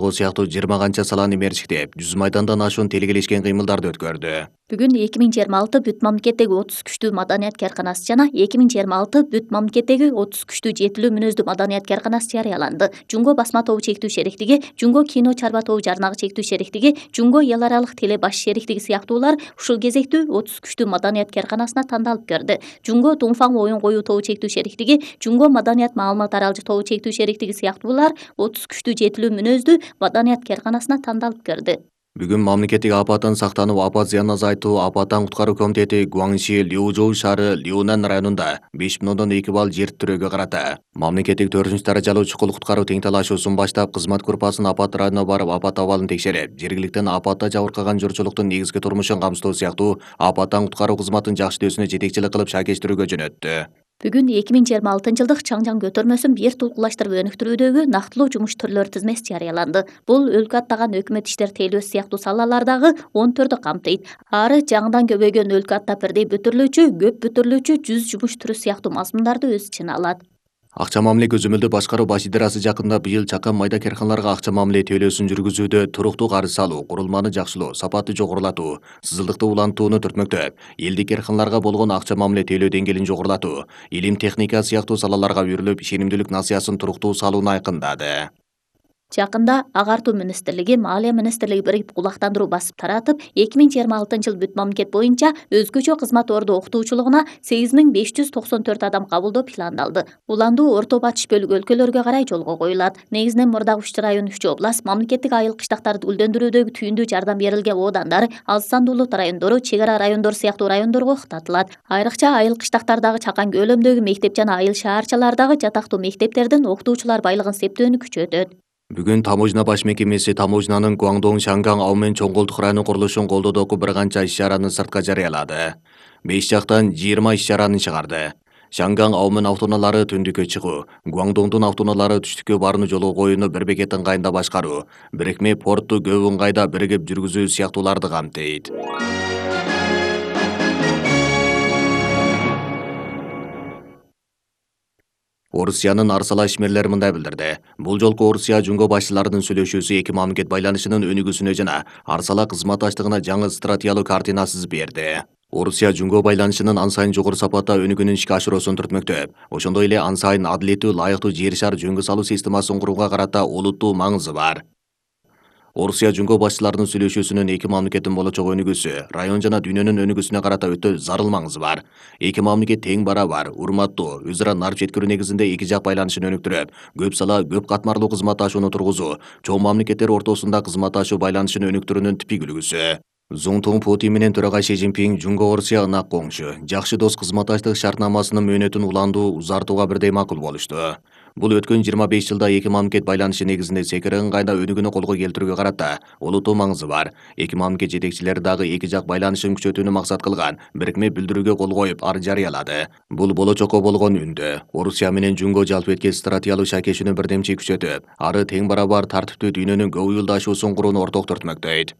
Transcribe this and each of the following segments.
Ол сыяктуу 20 канча саланы мерчиктеп, 100 майдандан ашуун телегелешкен кыймылдарды өткөрдү. Бүгүн 2026 бүт мамлекеттеги 30 күчтүү маданият каарканасы жана 2026 бүт мамлекеттеги 30 күчтүү жетилүү мүнөздүү маданият каарканасы жарыяланды. Жунго басма тобу чектүү шериктиги, Жунго кино чарба тобу жарнагы чектүү шериктиги, Жунго эл аралык теле баш шериктиги сыяктуулар ушул кезекте 30 күчтүү маданият каарканасына тандалып көрдү. Жунго Дуңфаң оюн коюу тобу чектүү шериктиги, Жунго маданият маалымат аралжы тобу чектүү шериктиги сыяктуулар 30 күчтүү жетилүү мүнөздүү маданият каарканасына тандалып көрдү. Бүгүн мамлекеттик апаттан сактануу, апат зыянын азайтуу, апаттан куткаруу комитети Гуаңши, Лиужоу шаары, Лиунан районунда 5,2 балл жер тирөөгө карата мамлекеттик 4 даражалуу чукул куткаруу тең талашуусун баштап, кызмат группасын апат районуна барып, апат абалын текшерип, жергиликтен апатта жабыркаган журтчулуктун негизги турмушун камсыздоо сыяктуу апаттан куткаруу кызматын жакшыртүүсүнө жетекчилик кылып шаакештирүүгө жөнөттү. Бүгүн 2026 жылдык Чаңжаң көтөрмөсүн бир тулкулаштырып өнүктүрүүдөгү нактылуу жумуш түрлөрү тизмеси жарыяланды. Бул өлкө аттаган өкмөт иштер тейлөөсү сыяктуу салалардагы 14 камтыйт. Ары жаңыдан көбөйгөн өлкө аттап бирдей бүтүрүлүүчү, көп бүтүрүлүүчү 100 жумуш түрү сыяктуу мазмундарды өз ичине алат. Акча мамиле көзөмөлдөө башкаруу баш идарасы жакында быйыл чакан майда карканаларга акча мамиле төлөөсүн жүргүзүүдө туруктуу карыз алуу, курулманы жакшылоо, сапатты жогорулатуу, сызылдыкты улантууну түртмөктөп, элдик карканаларга болгон акча мамиле төлөө деңгээлин жогорулатуу, илим, техника сыяктуу салаларга үйрүлүп, ишенимдүүлүк насыясын туруктуу салууну айкындады. Жакында Агартуу министрлиги, Маалия министрлиги биригип кулактандыруу басып таратып, 2026 жыл бүт мамлекет боюнча өзгөчө кызмат орду окутуучулугуна 8594 адам кабылдоо пландалды. Уландуу Орто Батыш бөлүгү өлкөлөргө карай жолго коюлат. Негизинен Мурдак Үч район, Үч область, мамлекеттик айыл кыштактарды гүлдөндүрүүдөгү түйүндүү жардам берилген оодандар, аз сандуу улут райондору, чек ара райондор сыяктуу райондорго уктатылат. Айрыкча айыл кыштактардагы Чакан көлөмдөгү мектеп жана айыл шаарчалардагы жатактуу мектептердин окутуучулар байлыгын септөөнү күчөтөт. Бүгүн таможня баш мекемеси таможнянын Гуаңдоң, Шанган, Аумен, Чоң Колтук районунун курулушун колдоодогу бир канча иш-чараны сыртка жарыялады. 5 жактан 20 иш-чараны чыгарды. Шанган, Аумен автоунаалары түндүккө чыгуу, Гуаңдоңдун автоунаалары түштүккө барууну жолго коюуну бир бекет ыңгайында башкаруу, бирикме портту көп ыңгайда биригип жүргүзүү сыяктууларды камтыйт. Орусиянын Арсала ишмерлери мындай билдирди. Бул жолку Орусия Жунго башчыларынын сүйлөшүүсү эки мамлекет байланышынын өнүгүүсүнө жана Арсала кызматташтыгына жаңы стратегиялык картина сызып берди. Орусия Жунго байланышынын ан сайын жогору сапатта өнүгүүнүн ишке ашыруусун түртмөктөп, ошондой эле ан сайын адилеттүү, лайыктуу жер шар жөнгө салуу системасын курууга карата олуттуу маңызы бар. Орусия Жунго башчыларынын сүйлөшүүсүнүн эки мамлекеттин болочок өнүгүүсү, район жана дүйнөнүн өнүгүүсүнө карата өтө зарыл маңызы бар. Эки мамлекет тең барабар, урматтуу, өз ара нарып жеткирүү негизинде эки жак байланышын өнүктүрүп, көп сала, көп катмарлуу кызматташууну тургузуу, чоң мамлекеттер ортосунда кызматташуу байланышын өнүктүрүүнүн типик үлгүсү. Цзунтун Путин менен төрага Си Цзиньпин Жунго Орусия ынак коңшу, жакшы дос кызматташтык шартнамасынын мөөнөтүн уландуу, узартууга бирдей макул болушту. Бул өткөн 25 жылда эки мамлекет байланышы негизинде секире ыңгайда өнүгүүнү колго келтирүүгө карата олуттуу маңызы бар. Эки мамлекет жетекчилери дагы эки жак байланышын күчөтүүнү максат кылган бирикме билдирүүгө кол коюп, ар жарыялады. Бул болочокко болгон үндө. Орусия менен Жунго жалпы эткен стратегиялык шаакешүүнү бирдемчи күчөтүп, ары тең барабар тартиптүү дүйнөнүн көп уюлдашуусун курууну орток түртмөктөйт.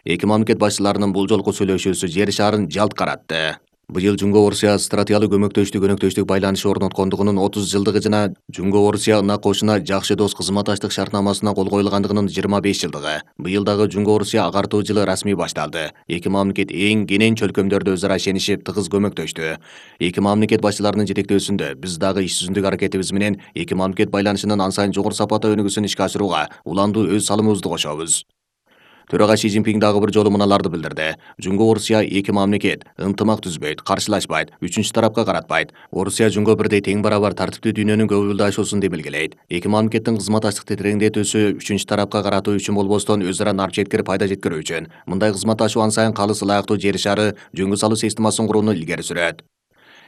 Эки мамлекет башчыларынын бул жолку сүйлөшүүсү жер шарын жалт каратты. Быйыл Жунго Орусия стратегиялык көмөктөштүк байланышы орноткондугунун 30 жылдыгы жана Жунго Орусия ынак кошуна жакшы дос кызматташтык шартнамасына кол коюлгандыгынын 25 жылдыгы. Быйыл дагы Жунго Орусия агартуу жылы расмий башталды. Эки мамлекет эң кенен чөлкөмдөрдө өз ара ишенишип, тыгыз көмөктөштү. Эки мамлекет башчыларынын жетектөөсүндө биз дагы иш жүзүндөгү аракетибиз менен эки мамлекет байланышынын ан сайын жогору сапатта өнүгүүсүн ишке ашырууга уландуу өз салымыбызды кошобуз. Төрага Си Цзиньпин дагы бир жолу мыналарды билдирди. Жунго Орусия эки мамлекет ынтымак түзбөйт, каршылашпайт, үчүнчү тарапка каратпайт. Орусия Жунго бирдей тең барабар тартиптүү дүйнөнүн көп уюлдашуусун демилгелейт. Эки мамлекеттин кызматташтыкты тереңдетүүсү үчүнчү тарапка каратуу үчүн болбостон өз ара нарып жеткирип пайда жеткирүү үчүн. Мындай кызматташуу ан сайын калыс ылайыктуу жер шары жөнгө салуу системасын курууну илгери сүрөт.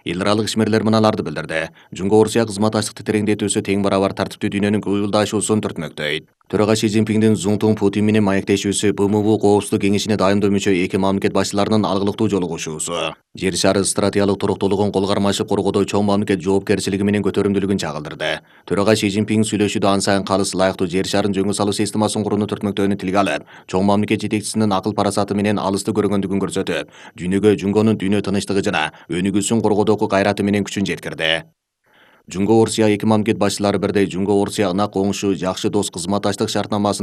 Эл аралык ишмерлер мыналарды билдирди. Жунго Орусия кызматташтыкты тереңдетүүсү тең барабар тартиптүү дүйнөнүн көп уюлдашуусун түртмөктөйт. Төрага Си Цзиньпиндин Цзунтун Путин менен маектешүүсү БМУ Коопсуздук кеңешине дайындоо мүчө эки мамлекет башчыларынын алгылыктуу жолугушуусу. Жер шары стратегиялык туруктуулугун кол кармашып коргоодо чоң мамлекет жоопкерчилиги менен көтөрүмдүүлүгүн чагылдырды. Төрага Си Цзиньпин сүйлөшүүдө ан сайын калыс ылайыктуу жер шарын жөнгө салуу системасын курууну түртмөктөөнү тилге алып, чоң мамлекет жетекчисинин акыл парасаты менен алысты көргөндүгүн көрсөтүп, дүйнөгө Жунгонун дүйнө тынычтыгы жана өнүгүүсүн коргоодогу кайраты менен күчүн жеткирди. Жунго Орусия эки мамлекет башчылары бирдей Жунго Орусия ынак коңшу жакшы дос кызматташтык шартнамасынын